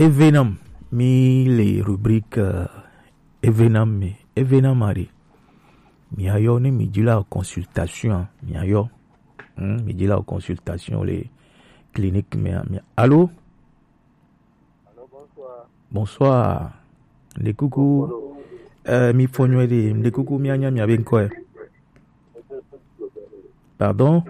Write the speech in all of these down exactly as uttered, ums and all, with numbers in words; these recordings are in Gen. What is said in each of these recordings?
Evenam, mi le rubrique euh, Evenam me, Evenam are. Mi ayo ne mi dila consultation, mi ayo. Hmm, mi dila consultation le clinique me, mi. Allô? Allô, bonsoir. Bonsoir. Le coucou. Bonsoir. Euh, mi fonyo de, le coucou mi anya mi abe nkwe. Pardon?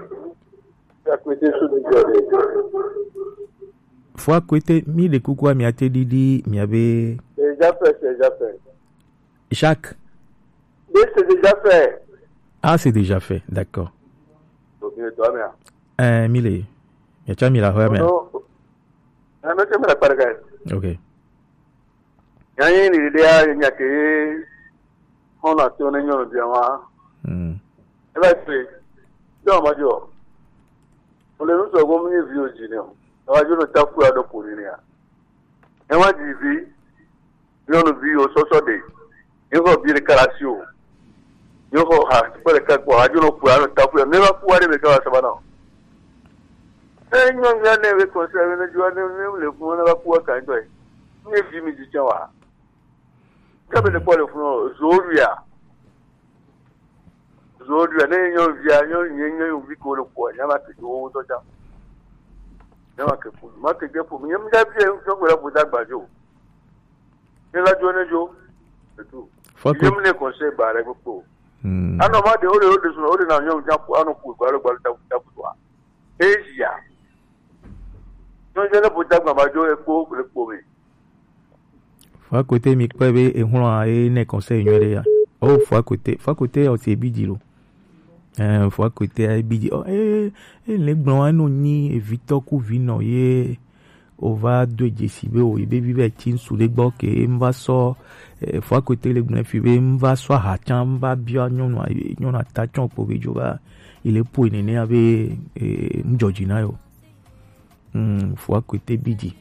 Fo akwete mi le coucou a mi ate didi mi abe. C'est déjà fait, c'est déjà fait. Jacques. Oui, c'est déjà fait. Ah, c'est déjà fait, d'accord. Donc, il est toi, mais. Euh, mi le. Mi acha mi la ho me. Non, non. Ah, mais c'est la parga. Ok. Ya ni ni de ya ni ke. Hona to ne nyo bia wa. Hmm. E ba pe. Do ma jo. O le no so go mi vi o ji ne o. E wa jo no ta ku ya do po ni ya. E wa ji vi. Nyɔnuvi yiwo sɔsɔ ɖe. Yewo xɔ vi ɖeka le asi o. Yewo xɔ ha kpe ɖeka gbɔ. Hadzo nɔ kua nɔ ta kua. Ne va kua ɖe me ka va saba na o. Ne nyɔnuvia ne ve kɔnse ne dzua ne ne le funu ne va kua ka ŋutɔ yi. Ne vi mi dzi tsɛ wa. Ke be ne kpɔ le funu o, zo ɖuia. Zo ɖuia ne nyɔnuvia nyɔnu nye nyɔnuvi ko le kua. Nya ma ke wo ŋutɔ tsã. Nya ma ke ƒo. Ma ke ge ƒo. Nye mi da bi nyɔnu la ƒo da gbadzo. Ne la dzo ne dzo. C'est tout. Faut que. Yem ne conseil ba re kpokpo. Hmm. Ano ma de o de o de so o de na nyɔnu ja ku ano ku gba lo gba ta ta ku wa. Asia. No je ne bo ta gba ma dzo e kpo le kpo me. Fo akwete mi kpe be e hlo a e ne conseil nyo de ya. O fo akwete, fo akwete o ti e bi di lo. Eh, fo akwete a e bi di. O e e le gbɔn wa no nyi evitɔ ku vi nɔ ye. O va do dzesi be o yi be vi be tsi ŋsu ɖe gbɔ ke n va sɔ eh, fo akwete le gblẽ fi be n va sɔ aha tsã n va bia nyɔnu nyɔnu ata tsɔ kpo be dzo va yi le ƒoe nene ya be eh, n dzɔ dzi na yo. Hmm, fo akwete bi dzi.